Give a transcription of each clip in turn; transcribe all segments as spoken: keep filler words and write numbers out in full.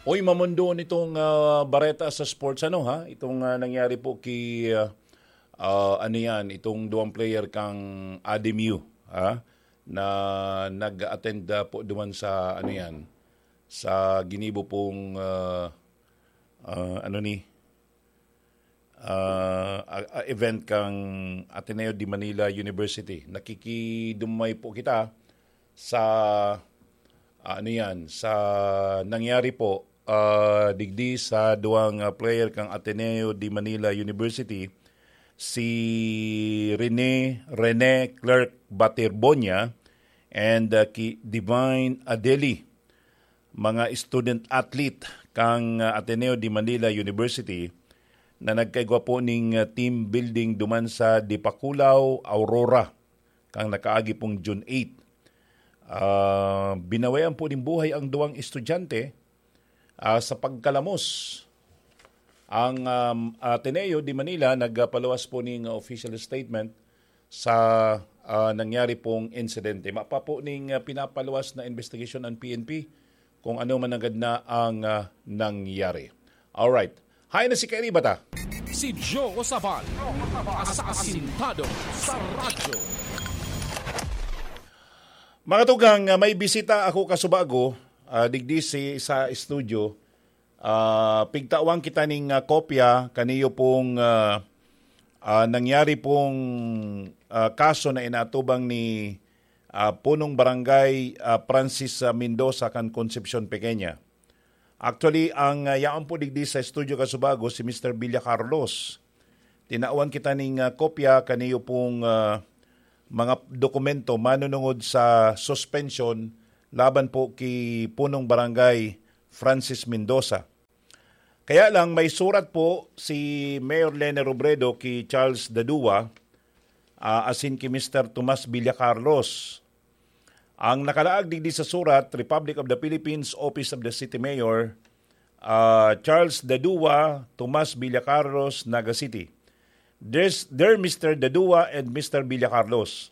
Oy, mamundo nitong ah, bareta sa sports, ano ha? Itong ah, nangyari po kay ah, ah, ano yan, itong duwang player kang Ademu, ha? Na nag-attend ah, po duman sa ano yan, sa ginibo pong ah, ah, ano ni ah, ah, ah, event kang Ateneo de Manila University. Nakikidumay po kita sa ah, ano yan, sa nangyari po ah, digdi sa duwang ah, player kang Ateneo de Manila University, si Rene Rene Clerk Batirbonia and ah, ki Divine Adeli, mga student athlete kang ah, Ateneo de Manila University na nagkaigwa po ning ah, team building duman sa Dipakulaw, Aurora, kang nakaagi pong June eight. Ah, binawean po nin buhay ang duwang estudyante ah, sa pagkalamos. Ang um, Ateneo de Manila nagpaluwas po ning official statement sa ah, nangyari pong insidente. Mapa po ning ah, pinapaluwas na investigasyon ang P N P kung ano man agad na ang ah, nangyari. Alright. Hay na si Kairi Bata. Si Joe Sabal, asasintado sa radyo. Mga tugang, ah, may bisita ako kasubago, ah, digdi si, sa studio. Ah, pigtawan kita ning ah, kopya kaniyo pong ah, ah, nangyari pong ah, kaso na inatubang ni ah, Punong Barangay ah, Francis ah, Mendoza kan Concepcion Pequeña. Actually, ang ah, yaon po digdi sa studio kasubago si Mister Villa Carlos. Tinawan kita ning ah, kopya kaniyo pong ah, mga dokumento manunungod sa suspension laban po ki Punong Barangay Francis Mendoza. Kaya lang, may surat po si Mayor Lene Robredo ki Charles Dadua, ah, asin ki Mister Tomas Villacarlos. Ang nakalaag digdi sa surat, Republic of the Philippines, Office of the City Mayor, ah, Charles Dadua, Tomas Villacarlos, Naga City. There's, dear Mister Dadua and Mister Villacarlos,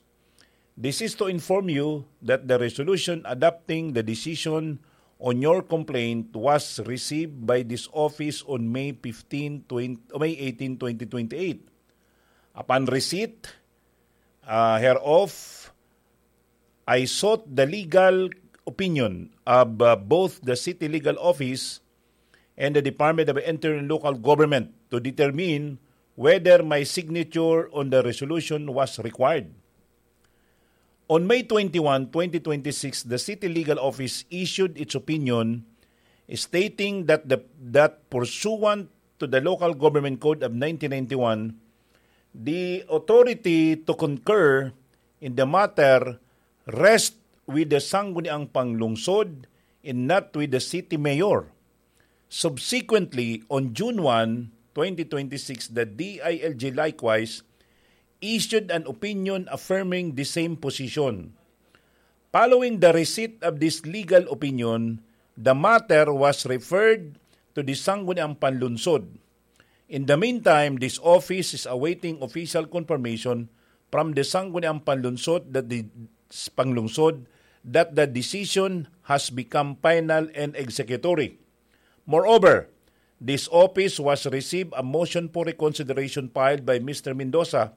this is to inform you that the resolution adopting the decision on your complaint was received by this office on May fifteen, twenty, May eighteen, twenty twenty-eight. Upon receipt uh, hereof, I sought the legal opinion of uh, both the City Legal Office and the Department of Interior and Local Government to determine whether my signature on the resolution was required. On May twenty-one, twenty twenty-six, the City Legal Office issued its opinion stating that the, that pursuant to the Local Government Code of nineteen ninety-one, the authority to concur in the matter rests with the Sangguniang Panglungsod and not with the City Mayor. Subsequently, on June one, twenty twenty-six, the D I L G likewise issued an opinion affirming the same position. Following the receipt of this legal opinion, the matter was referred to the Sangguniang Panlungsod. In the meantime, this office is awaiting official confirmation from the Sangguniang Panlungsod that the Panglungsod that the decision has become final and executory. Moreover, this office was received a motion for reconsideration filed by Mister Mendoza,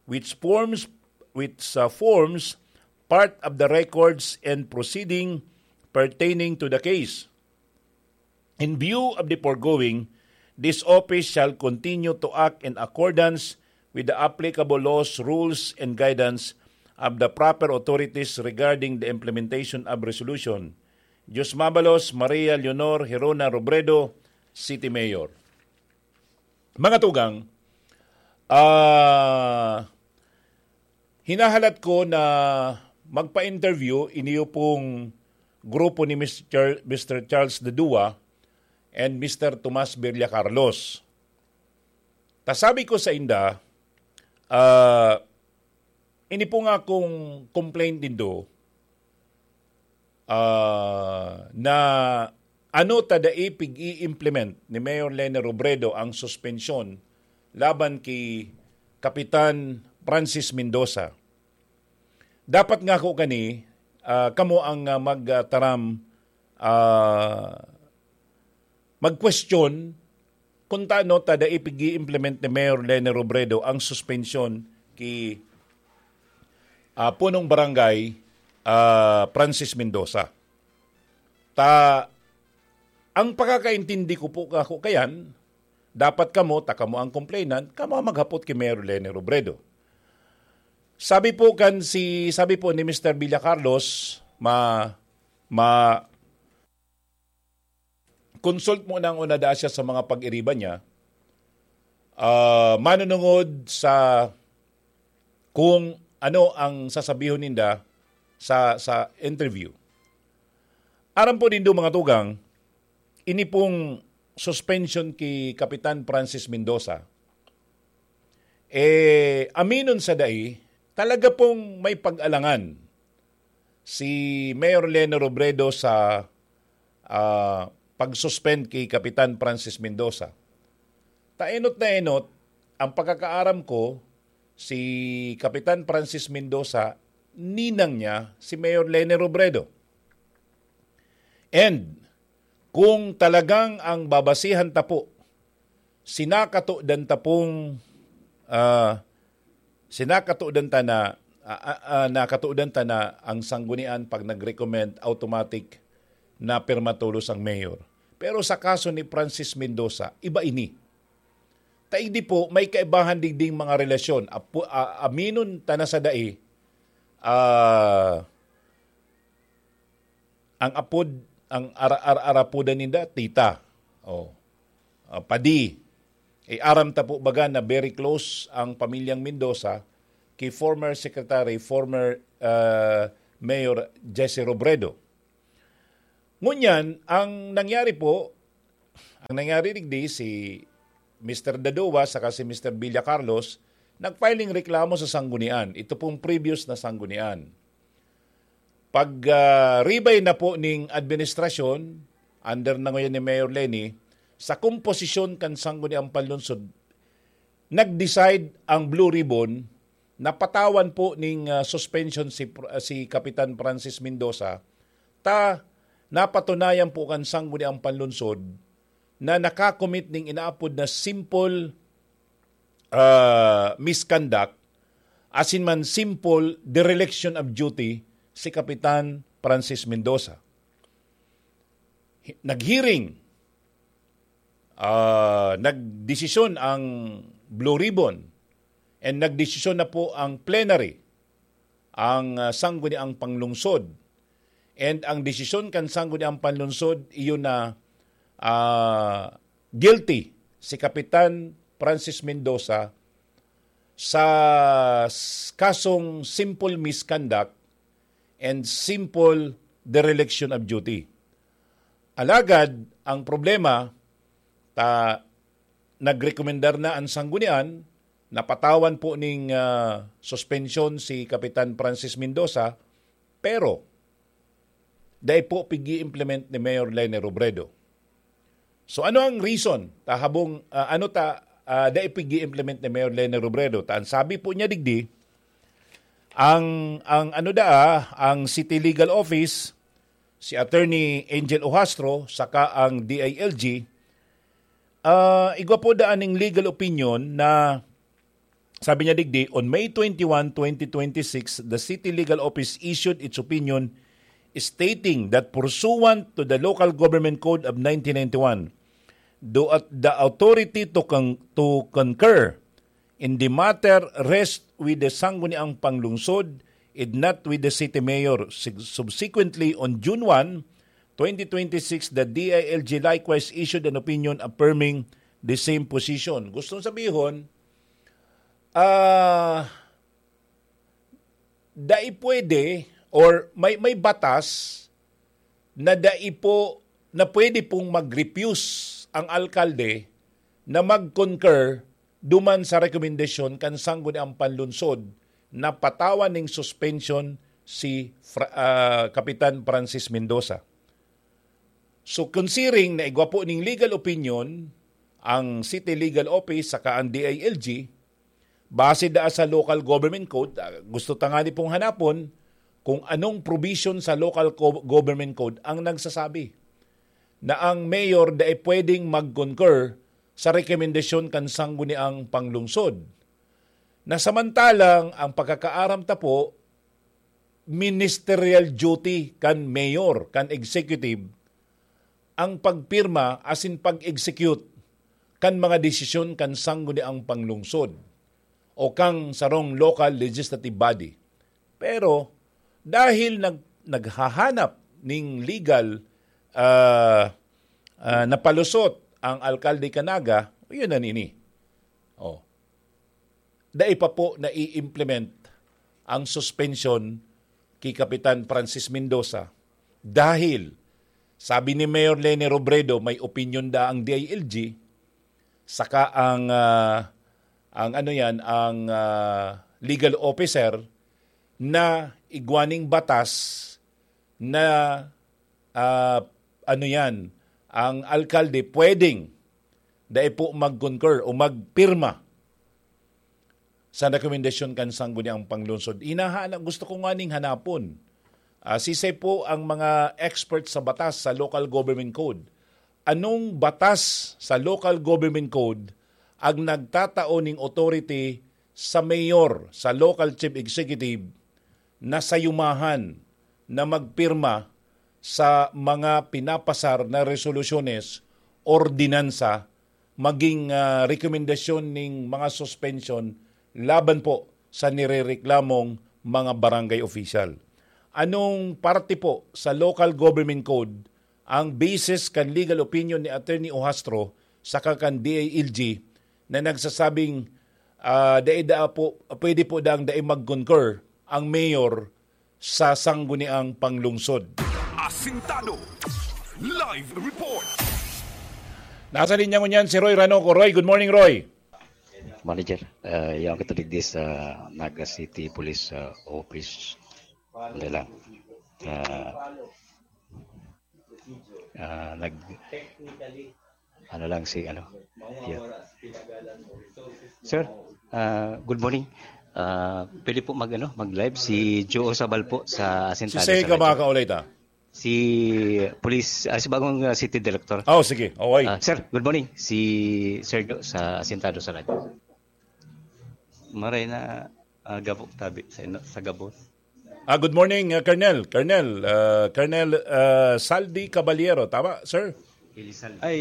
which forms which uh, forms part of the records and proceeding pertaining to the case. In view of the foregoing, this office shall continue to act in accordance with the applicable laws, rules, and guidance of the proper authorities regarding the implementation of resolution. Dios Mabalos, Maria Leonor Hirona Robredo, City Mayor. Mga tugang, ah, hinahalat ko na magpa-interview iniyo pong grupo ni Mister Char-, Mister Charles Dadua and Mister Tomas Birlia Carlos. Ta sabi ko sa inda, ah, ini po nga akong complaint nindo, ah, na ano ta dai pig-i-implement ni Mayor Lene Robredo ang suspensyon laban ki Kapitan Francis Mendoza. Dapat nga ako kani, ah, kamo ang ah, magtaram ah, magkwestiyon kung tano ta dai pig-i-implement ni Mayor Leni Robredo ang suspensyon ki, ah, punong barangay, ah, Francis Mendoza. Ta, ang pagkakaintindi ko po, ako kayan, dapat kamo, ta kamo ang complainant, kamo ang maghapot ki Mayor Leni Robredo. Sabi po kan si, sabi po ni Mister Villa Carlos, ma, ma, consult muna ang una daa siya sa mga pag-iriba niya, ah, manunungod sa kung ano ang sasabihon ninda sa, sa interview. Aram po nindo, mga tugang, ini pong suspension ki Kapitan Francis Mendoza, eh, aminon sa dai, talaga pong may pag-alangan si Mayor Leni Robredo sa, ah, pag-suspend ki Kapitan Francis Mendoza. Ta enot na enot, ang pagkakaaram ko, si Kapitan Francis Mendoza, ninang niya si Mayor Leni Robredo. And kung talagang ang babasihan ta po, sinakatodan ta pong, ah, sinakatodan ta na, ah, ah, ah, nakatodan ta na ang sanggunian pag nag-recommend, automatic na pirma tolos ang mayor. Pero sa kaso ni Francis Mendoza, iba ini. Ta igdi po, may kaibahan digding mga relasyon. Apo, ah, aminon ta na sa dai, ah, ang apod, ang ara-, ara-, arapodan ninda, tita. Oh. Ah, padi. Eh, aram ta po baga na very close ang pamilyang Mendoza ki former secretary, former, ah, Mayor Jesse Robredo. Ngunyan, ang nangyari po, ang nangyari digdi, si Mister Dadoa saka si Mister Villa Carlos nag-filing reklamo sa sanggunian. Ito pong previous na sanggunian. Pag, ah, ribay na po ning administrasyon, under na ngayon ni Mayor Leni, sa komposisyon kan Sangguniang Panlunsod, nag-decide ang Blue Ribbon na patawan po ning, ah, suspension si Pr-, ah, si Kapitan Francis Mendoza, ta napatunayan po kan Sangguniang Panlunsod na nakakomit ning inaapod na simple, ah, misconduct, asin man simple dereliction of duty si Kapitan Francis Mendoza. Hi-, nag-hearing, ah, nagdesisyon ang Blue Ribbon and nagdesisyon na po ang plenary, ang, ah, Sangguniang Panlungsod. And ang desisyon kan Sangguniang Panlungsod, iyon na, ah, guilty si Kapitan Francis Mendoza sa s-, kasong simple misconduct and simple dereliction of duty. Alagad, ang problema, ta, nagrekomendar na ang sanggunian, napatawan po ning, ah, suspensyon si Kapitan Francis Mendoza, pero dai po pig-i-implement ni Mayor Leni Robredo. So, ano ang reason? Ta habong, ah, ano ta, ah, dai pig-i-implement ni Mayor Leni Robredo? Ta ang sabi po niya digdi, ang, ang ano daa, ang City Legal Office, si Attorney Angel Ohastro, saka ang D I L G, ah, igwa po daan ning legal opinion na sabi niya digdi, "On May twenty-one, twenty twenty-six, the City Legal Office issued its opinion stating that pursuant to the Local Government Code of nineteen ninety-one, the, the authority to con-, to concur in the matter rests with the Sangguniang Panglungsod and not with the City Mayor." Sig-, subsequently, on June one, twenty twenty-six, the D I L G likewise issued an opinion affirming the same position. Gustong sabihon, ah, dai pwede or may, may batas na dai po, na pwede pong mag-refuse ang alkalde na mag-concur duman sa rekomendasyon kan Sangguniang Panlunsod na patawan ning suspension si Fra-, ah, Kapitan Francis Mendoza. So, considering na igwa po ning legal opinion ang City Legal Office saka ang D I L G, base daa sa Local Government Code, ah, gusto tangani pong hanapon kung anong provision sa Local Co-, Government Code ang nagsasabi na ang mayor dai pwedeng mag-concur sa rekomendasyon kan sangguniang panglungsod. Na samantalang ang pagkakaaram ta po, ministerial duty kan mayor, kan executive, ang pagpirma asin pag-execute kan mga desisyon kan sangguniang panglungsod o kang sarong local legislative body. Pero dahil nag-, naghahanap ning legal, ah, ah, na palusot ang alkalde kan Naga, yun na nini. Oh. Dai pa po nai-implement ang suspensyon ki Kapitan Francis Mendoza dahil, sabi ni Mayor Leni Robredo, may opinyon da ang D I L G, saka ang, ah, ang ano yan, ang, ah, legal officer na igwaning batas na, ah, ano yan, ang alkalde pwedeng dai po mag-concur o magpirma sa rekomendasyon kan sangguniang panglungsod. Hinahanap, gusto ko nga ning hanapon. Ah, sisay po ang mga expert sa batas sa local government code? Anong batas sa local government code ang nagtatao ning authority sa mayor, sa local chief executive, na sayumahan na magpirma sa mga pinapasar na resolusyones, ordinansa, maging, ah, rekomendasyon ning mga suspensyon laban po sa nirereklamong mga barangay official? Anong parte po sa local government code ang basis kan legal opinion ni Attorney Ohastro saka kan D I L G na nagsasabing, ah, dai daa po, pwede po daang dai mag-concur ang mayor sa sangguniang panglungsod? Asintado. Live report. Nasa linya ngunyan si Roy Ranoco. Roy, good morning, Roy. Manager, uh, yung kita digdi sa Naga City Police, uh, Office. Ano lang. Uh, uh, nag, ano lang si, ano. Yeah. Sir, uh, good morning. Uh, pwede po mag, ano, mag-live si Joe Sabal po sa Asintado. Si Sega sa radyo. Baka ulit, ah. Si Police, ah, si bagong, ah, City Director. Oh, sige. Okay. Ah, sir, good morning. Si Sergio sa Asintado sa Radyo. Maray na aga po tabi sa ino-, sa gabos. Ah, good morning, ah, Colonel. Colonel, ah, Colonel, ah, Saldi Caballero. Tama, sir? Ay,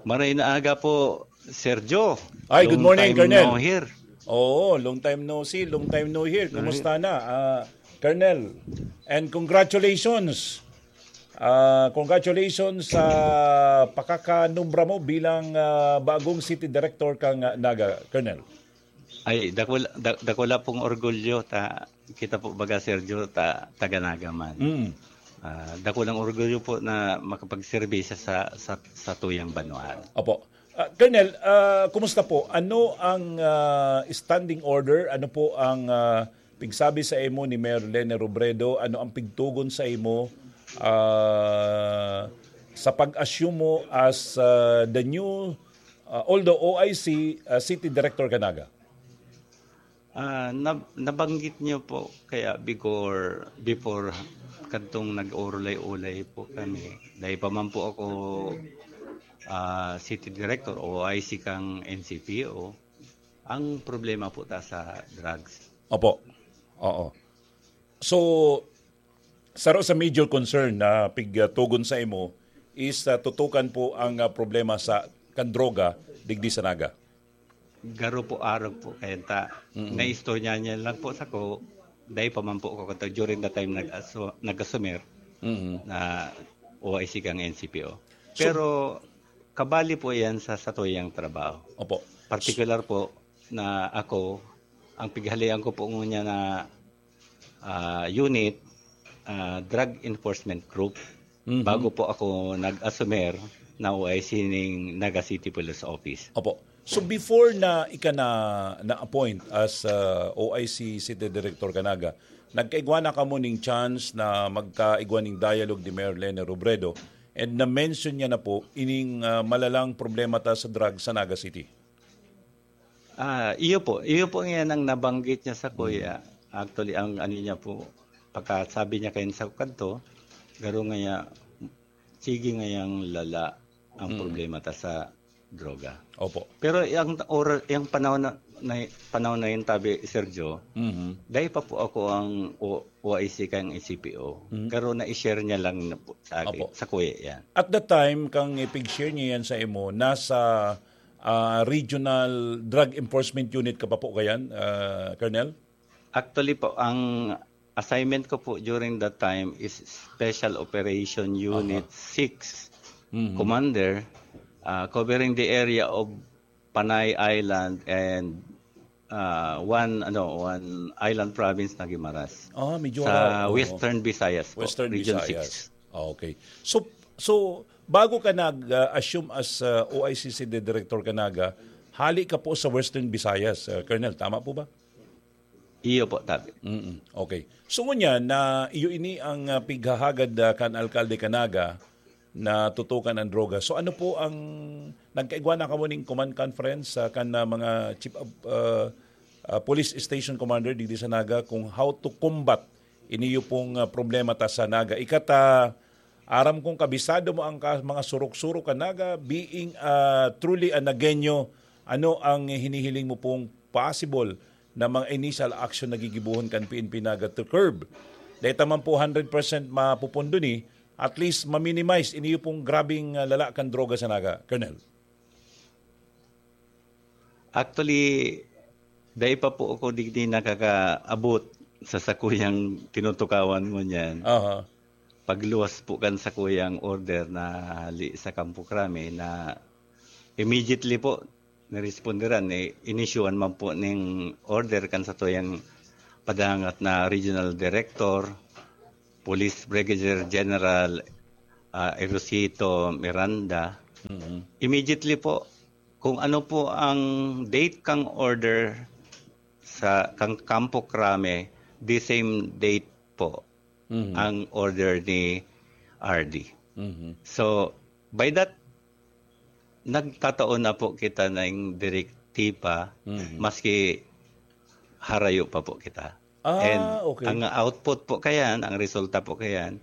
maray na aga po, Sergio. Ay, good morning, Colonel. Long time no hear. Oo, long time no see, long time no hear. Kumusta na, ah, Colonel? And congratulations. Ah, congratulations sa pakakanumbra mo bilang, ah, bagong city director kang, ah, Naga, Colonel. Ay, dakula, da-, dakula pong orgulyo ta kita po, baga, Sergio, ta-, taga Naga man. Mm. Ah, dakulang orgulyo po na makapagserbisya sa, sa, sa tuyang banwaan. Opo. Ah, Colonel, ah, kumusta po? Ano ang, ah, standing order? Ano po ang, ah, pigsabi sa imo ni Mayor Lene Robredo? Ano ang pigtugon sa imo, ah, sa pag-assume mo as, ah, the new, ah, although O I C, ah, City Director ka, Naga? Ah, nab-, nabanggit niyo po kaya before, before kadtong nag-orulay-ulay po kami. Dahil pa man po ako, ah, city director o O I C kang N C P O, ang problema po ta sa drugs. Opo. Oo. So, saro sa major concern na pigtugon sa imo is, ah, tutukan po ang, ah, problema sa kan droga digdi sa Naga. Garo po arog po kaya ta, Mm-mm. naistorya niya lang po sako, dahil pa man po ako kato during the time nag-aso-, nag-asumer Mm-mm. na O I C kang N C P O. So, pero kabali po yan sa satuyang trabaho. Opo. Particular po na ako, ang pighalian ko po ngunyan na, ah, unit, ah, Drug Enforcement Group, Mhm. bago po ako nag-asumer na O I C ning Naga City Police Office. Opo. So before na ika na, na-appoint as, ah, O I C City Director ka Naga, nagkaigwa na kamo ning chance na magkaigwa ning dialogue ni Mayor Lene Robredo, and na-mention niya na po ining, ah, malalang problema ta sa drug sa Naga City. Ah, iyo po. Iyo po ngayon ang nabanggit niya sa kuya. Mm. Actually, ang ano niya po, pagkasabi niya kayo sa kadto, garo nga niya, sige ngayang lala ang Mm. problema ta sa droga. Opo. Pero yung ora-, yung panahon na, na panahon na yun, tabi, Sergio, Mhm. dahil pa po ako ang O-, O I C kang C P O. Mhm. Pero na-share niya lang na po sa akin, Opo. sa kuya yan. At the time, kang ipig-share niya yan sa imo, nasa ah, Regional Drug Enforcement Unit ka pa po kayan, ah, Colonel? Actually po, ang assignment ko po during that time is Special Operation Unit Aha. six Mhm. Commander, ah, covering the area of Panay Island and ah, one ano one island province na Guimaras. Ah, medyo sa Western Visayas po, Western Region Visayas. six. Ah, okay. So so bago ka nag-assume as uh, O I C C D director ka naga, hali ka po sa Western Visayas, uh, Colonel, tama po ba? Iyo po, tabi. Mm-mm. Okay. So ngunyan na iyo ini ang uh, pighahagad uh, kan alkalde ka naga, na tutukan ang droga. So ano po ang nagkaigwa na kamo ning command conference sa kan uh, mga chief of uh, uh, police station commander digdi sa Naga kung how to combat iniyo pong uh, problema ta sa Naga. Ikata aram kong kabisado mo ang ka, mga surok-surok kan Naga, being uh, truly a Nagueño, ano ang hinihiling mo pong possible na mga initial action na gigibuhon kan P N P Naga to curb? Dahil taman po hundred percent mapupundo ni, at least ma-minimize iniyo pong grabing ah, lala kan droga sa Naga, Colonel? Actually, dai pa po ako digdi nakakaabot sa sakuyang tinutukawan mo niyan. Aha. Pagluwas po kan sakuyang order na hali sa Kampo Krame na immediately po niresponderan, eh, inisyuhan man po ning order kan satuyang padangat na Regional Director, Police Brigadier General ah, Erosito Miranda. Mhm. Immediately po, kung ano po ang date kang order sa kang Kampo Krame, the same date po Mhm. ang order ni R D. Mhm. So, by that, nagtatao na po kita ng direktiba, Mhm. maski harayo pa po kita. Ah, And okay. ang output po kayan, ang resulta po kayan,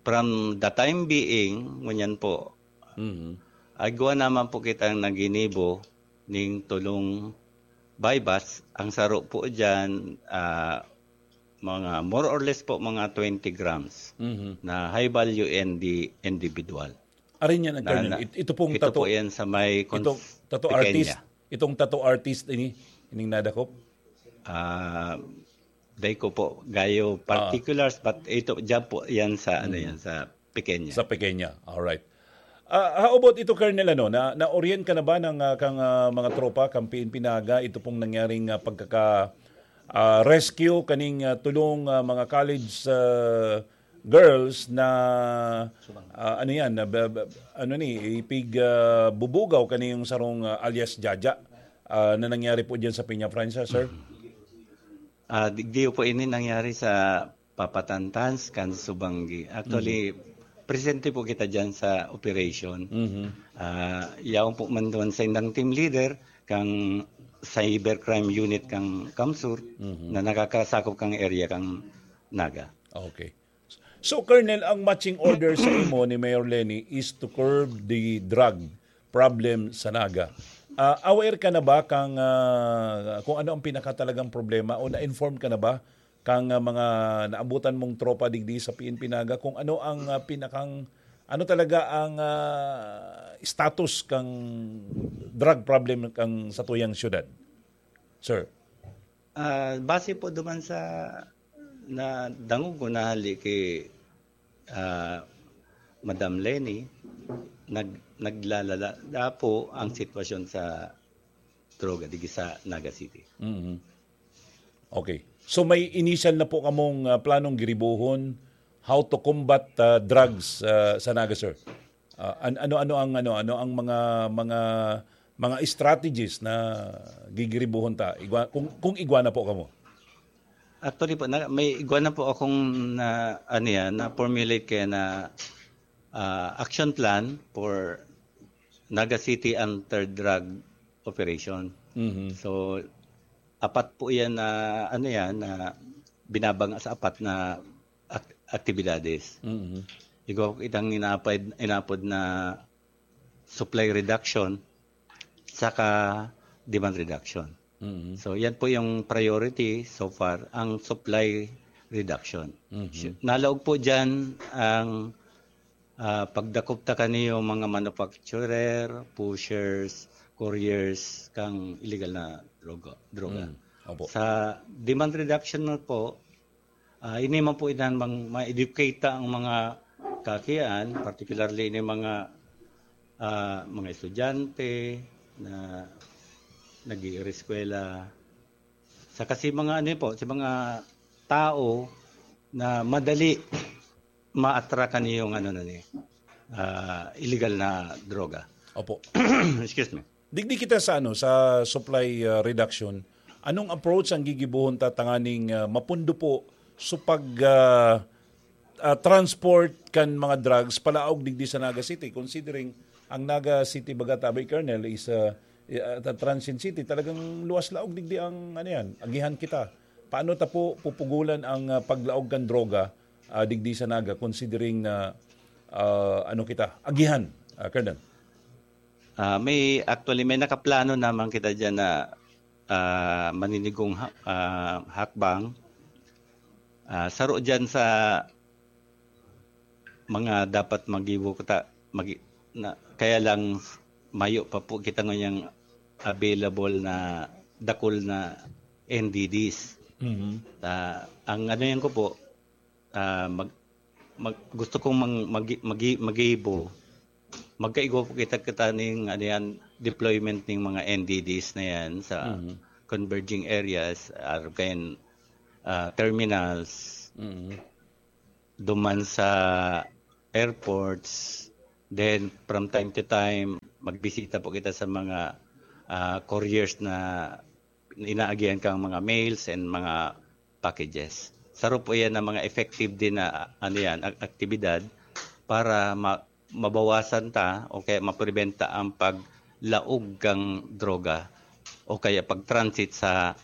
from the time being, ngunyan po, Mhm. agwa naman po kitang naginibo ning tulong buy-bust. Ang saro po dyan, ah, mga more or less po mga twenty grams Mhm. na high value N D individual. Arin yan, Na, Colonel. na, It- ito pong ito tato, po yan sa may ito, cons- tato Pequeña. artist, itong tato artist ini, ining nadakop? Ah, dai ko po gayo particulars, but ito, dyan po yan sa, ano yan, sa Pequeña. Sa Pequeña. Alright. Ah, how about ito, Colonel, ano, na, na-orient ka na ba ng ah, kang ah, mga tropa, kang P N P Naga, ito pong nangyaring ah, pagkaka ah, rescue kaning ah, tulong ah, mga college ah, girls na ah, ano yan, na, ba- ba- ano ni, ipig ah, bubugaw kaniyong sarong ah, alias Jaja ah, na nangyari po diyan sa Peña Francia, sir? Ah, di, di po ini nangyari sa Papatantans, kan Subanggi. Actually, presente po kita dyan sa operation. Mhm. Ah, yaon po man doon sa indang team leader, kang cybercrime unit kang Kamsur, Mhm. na nakakasakop kang area kang Naga. Okay. So, Colonel, ang matching order sa imo ni Mayor Leni is to curb the drug problem sa Naga. Ah, aware ka na ba kang ah, kung ano ang pinakatalagang problema o na-inform ka na ba kang ah, mga naabutan mong tropa digdi sa P N P Naga kung ano ang ah, pinakang ano talaga ang ah, status kang drug problem kang satuyang syudad? Sir. Ah, base po duman sa na dangog ko na hali kay ah, Madam Leni, nag naglalala po ang sitwasyon sa droga digi sa Naga City. Mhm. Okay. So may initial na po kamong ah, planong giribuhon how to combat ah, drugs ah, sa Naga, sir? Ah, an- ano ano ang ano ano ang mga mga mga strategies na gigiribuhon ta igwa, kung kung igwa na po kamo? Actually po, na, may igwa na po akong na, ano yan, na-formulate kaya na ah, action plan for Naga City Anti-Drug Operation. Mhm. So, apat po yan na, ano yan, na binabanga sa apat na ak- aktibidades. Mhm. Igwa po itang inapod, inapod na supply reduction saka demand reduction. Mm. So, yan po yung priority so far, ang supply reduction. Mhm. Nalaog po dyan ang, ah, pagdakop ta kaniyo mga manufacturer, pushers, couriers, kang illegal na droga, droga. Mm. Opo. Sa demand reduction na po, ah, ini man po idan mang ma-educate ta ang mga kakian, particularly ini mga, ah, mga estudyante na nag-iireskwela. Saka si mga ano po, si mga tao na madali ma-attract kan yung ano na ni, ah, illegal na droga. Opo. Excuse me. Digdi kita sa ano, sa supply, ah, reduction. Anong approach ang gigibohon ta tanganing, ah, mapundo po sa pag, ah, ah, transport kan mga drugs palaog digdi sa Naga City, considering ang Naga City, baga tabi, Colonel, is, ah, ah, transient city. Talagang luwas laog digdi ang, ano yan, agihan kita. Paano ta po pupugulan ang, ah, paglaog kan droga, ah, digdi sa Naga, considering na, ah, ano kita, agihan, ah, Colonel? Ah, may, actually, may nakaplano naman kita dyan na, ah, maninigong ha-, ah, hakbang. Ah, saro dyan sa mga dapat magibo kita, magi-, na, kaya lang mayo pa po kita ngayang available na dakul na N D Ds. Mhm. Ah, ang ano yan ko po, ah, mag-, mag-, gusto kong mang-, magi-, magi-, magibo, magkaigwa po kita, kita ning, ano yan, deployment ning mga N D Ds na yan sa Mhm. converging areas, or kaya, ah, terminals. Mhm. Duman sa airports. Then, from time to time, magbisita po kita sa mga, ah, couriers na inaagihan kang mga mails and mga packages. Saro po yan ang mga effective din na, ano yan, ak-, aktibidad para ma-, mabawasan ta o kaya mapreventa ang paglaog kang droga o kaya pag-transit sa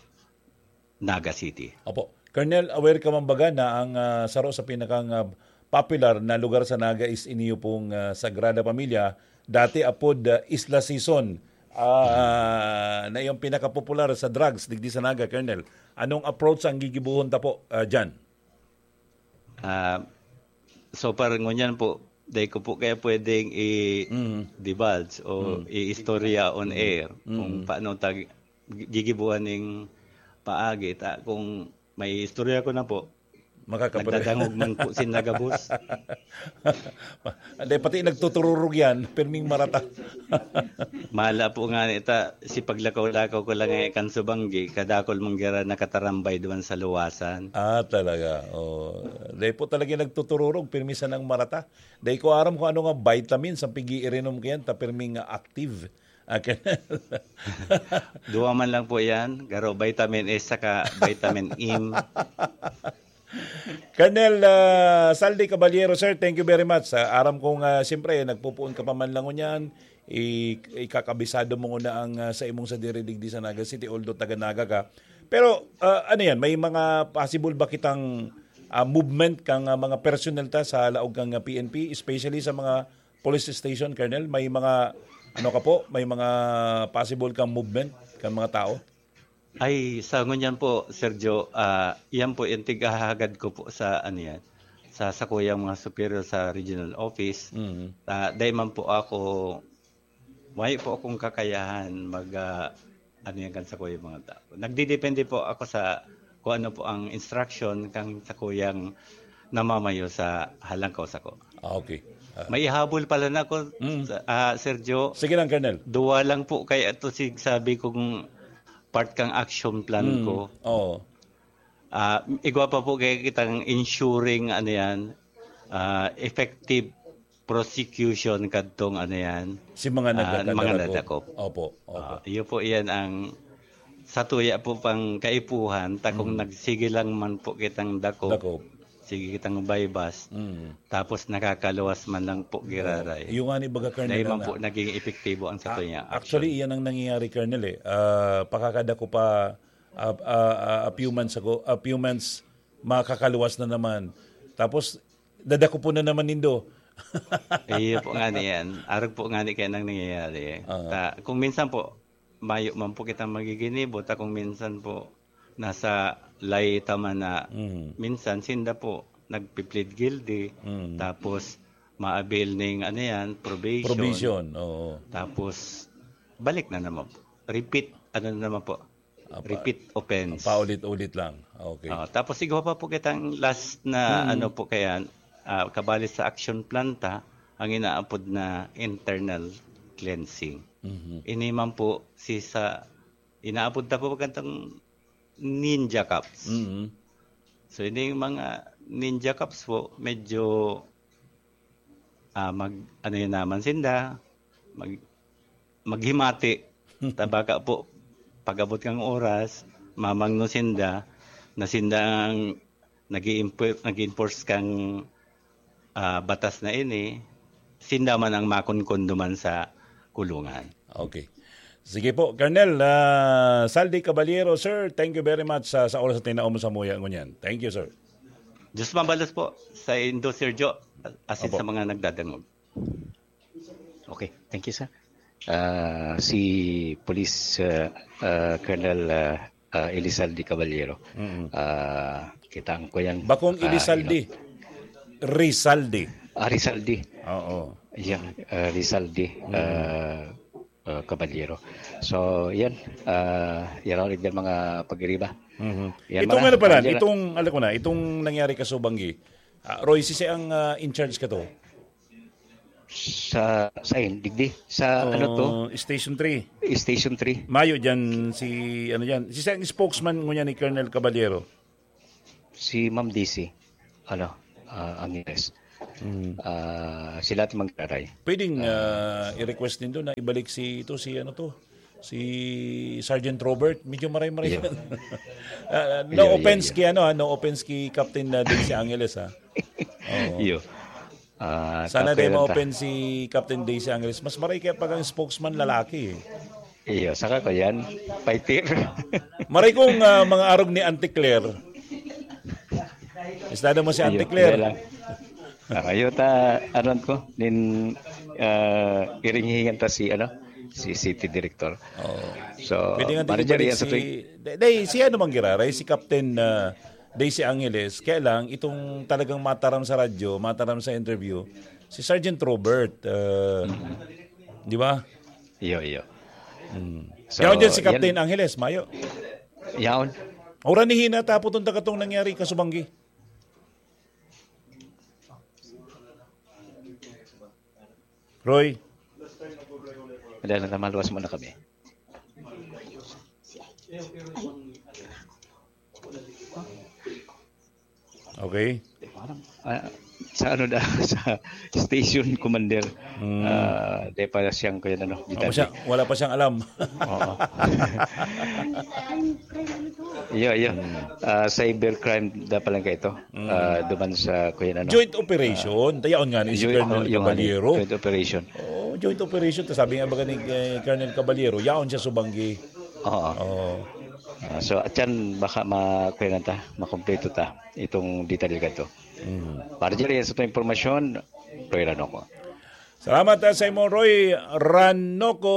Naga City. Opo. Colonel, aware ka man baga na ang, ah, saro sa pinakang, ah, popular na lugar sa Naga is iniyo pong, ah, Sagrada Familia, dati apod, ah, Isla Sison, ah, na yung pinakapopular sa drugs digdi sa Naga, Colonel. Anong approach ang gigibohon ta po, ah, dyan? Ah, so, parang ngunyan po, dai ko po kaya pwedeng Mm. i-divulge o Mm. i-istorya on Mm. air kung Mm. paano tag-, gigibuan ning paagi. Ta, kung may istorya ko na po, Makakapre- nagdadangog man po sin nagabos. Hindi, pati nagtutururog yan, pirming marata. Mala po nga nita, si paglakaw-lakaw ko lang eh, kan subanggi, kadakol mong gira nakatarambay duman sa luwasan. Ah, talaga. Oh. Dahil po talaga nagtutururog, pirmi sanang marata. Dahil ko aram kung ano nga vitamins ang pigi-irinom ko yan, ta pirmi nga active. Ah, Colonel. Duwa man lang po yan, garo vitamin E saka vitamin M. Colonel, ah, Saldi Caballero, sir, thank you very much. Ah, aram kong, ah, siyempre, nagpupuon ka pa man lang ngunyan, i-, ikakabisado mo nguna ang, ah, sa imong sadiri digdi sa Naga City, although taga Naga ka. Pero, ah, ano yan, may mga possible ba kitang, ah, movement kang, ah, mga personnel ta sa laog kang, ah, P N P, especially sa mga police station, Colonel? May mga, ano ka po, may mga possible kang movement kang mga tao? Ay, sa ngunyan po, Sergio, ah, yan po yung tighahagad ko po sa, ano yan, sa sakuyang mga superior sa regional office. Mm. Ah, dahil man po ako, may po akong kakayahan mag, ah, ano yan, kan sakuyang mga tao. Nagdidepende po ako sa kung ano po ang instruction kang sakuyang namamayo sa halangkaw sako. Ah, okay. Ah. May ihabol pala na ako, Mm. sa, ah, Sergio. Sige lang, Colonel. Duwa lang po kaya ito sig sabi kong part kang action plan Mm. ko. Oo. Ah, igwa pa po kaya kitang ensuring, ano yan, ah, effective prosecution kadtong, ano yan, Si mga ah, nagdakadakop. mga nadakop. Opo, opo. Ah, iyo po yan ang sa tuya po pang kaipuhan, ta kung Mm. nagsige lang man po kitang dakop, Dakop. sige kitang baybas, Mm. tapos nakakaluwas man lang po giraray. Yung nga ni baga, Colonel, Dahil man na po naging epektibo ang sa Ah, tuya action. actually, iyan ang nangyayari, Colonel, eh. Ah, pakakadako pa, ah, ah, ah, a few months ago, a few months, makakaluwas na naman. Tapos, dadakopon na naman nindo. Iyo po nga ni yan. Arog po nga ni kaya nang nangyayari. Aha. Ta, kung minsan po, mayo man po kitang magiginibo, ta kung minsan po, nasa lay ta man na Mm. minsan sinda po nagpi-plead guilty, Mm. tapos ma-avail ning ano yan, probation. Probation, oo. Tapos, balik na naman po. Repeat, ano na naman po? Apa-, Repeat offense. paulit-ulit lang. Okay. Ah, tapos igwa pa po kitang last na Hmm. ano po kaya, ah, kabali sa action plan ta, ang inaapod na internal cleansing. Mhm. Ini man po si sa, inaapod ta po kantang ninja cops. Mhm. So, ini yung mga ninja cops po, medyo, ah, mag, ano yun naman sinda, mag, maghimati. Tabaka po, pag-abot kang oras, mamangno sinda, na sinda ang nag-i-impo-, nag-enforce kang, ah, batas na ini, sinda man ang makunkundo man sa kulungan. Okay. Sige po, Colonel, ah, Saldi Caballero, sir, thank you very much sa, sa oras na tinao mo sa muya ngunyan. Thank you, sir. Diyos mabalos po sa indo, Sir Joe, asin Opo. sa mga nagdadangog. Okay, thank you, sir. Ah, si Police, ah, ah, Colonel, ah, ah, Elizalde Caballero. Mm. Ah, kitaan ko yan. Bakong Ah, Elizalde. ino- Rizalde. Ah, Rizalde. Oo. Yan, ah, Rizalde, Mm. ah, ah, Caballero. So, yan. Ah, yan ang mga pag-iriba. Mhm. Yan, Itong mga ano pala, pag-iriba. itong, alam ko na, itong nangyari ka Subanggi, ah, Roy, sisi ang, ah, in charge ka to? Sa, sa, digdi, sa ano to? Oh, Station three. Station three. Mayo dyan si, ano dyan, si, si ang spokesman ngunyan ni Colonel Caballero. Si Ma'am D C, ano, ah, Angeles. Mm. Ah, sila ti magdaray. Pwedeng, Ah. ah, i-request nindo na ibalik si, ito, si, ano to, si Sergeant Robert. Medyo maray-maray Iyo. yan. Ah, no Iyo, iyo, offense iyo. kay, ano, ah, no offense kay Captain, ah, Daisy Angeles, ha? Oo. Iyo. Ah, Sana di ma-open si Captain Daisy Angeles. Mas maray kaya pag ang spokesman lalaki, eh. Iyo, saka ko yan. Fighter. Maray kong, ah, mga arog ni Auntie Claire. Estado mo si Auntie Iyo, Claire. kaya lang. Ah, iyo ta, ano ko, nin, ah, iringhingan ta si, ano, si City Director. Oo. So, Pwede nga manager digibalik yan sa si, tuwing day, day, si ano mang giraray, si Captain, ah, Daisy Angeles. Kaya lang, itong talagang mataram sa radyo, mataram sa interview, si Sergeant Robert, ah, Mm. di ba? Iyo, iyo. Mm. So, Yaon dyan si yan. Captain Angeles, mayo. Yaon. Ora ni Hina, tapos itong tagatong nangyari, Kasubanggi. Roy. Wala na, maluwas muna kami. Okay. Ah, sa ano da, sa station commander, Hmm. ah, di pa siyang, kaya ano, Wala pa siya, wala pa siyang alam. Oo. Iyo, iyo. Hmm. Ah, cybercrime da pala kaito. Hmm. Ah, duman sa, kuya, ano, Joint ah, operation. Tayaon nga ni si joint, Colonel oh, yung ano, Caballero. Joint operation. Oh, joint operation. Tas sabi nga baga ni, eh, Colonel Caballero, yaon siya Subanggi. Oo. Oo. Ah, so, at yan, baka ma-, kuya na ta, makompleto ta itong detalye ka to. Mm. Para dyan, yan sa itong impormasyon, Roy Ranoco. Salamat, ah, sa imo, Roy Ranoco.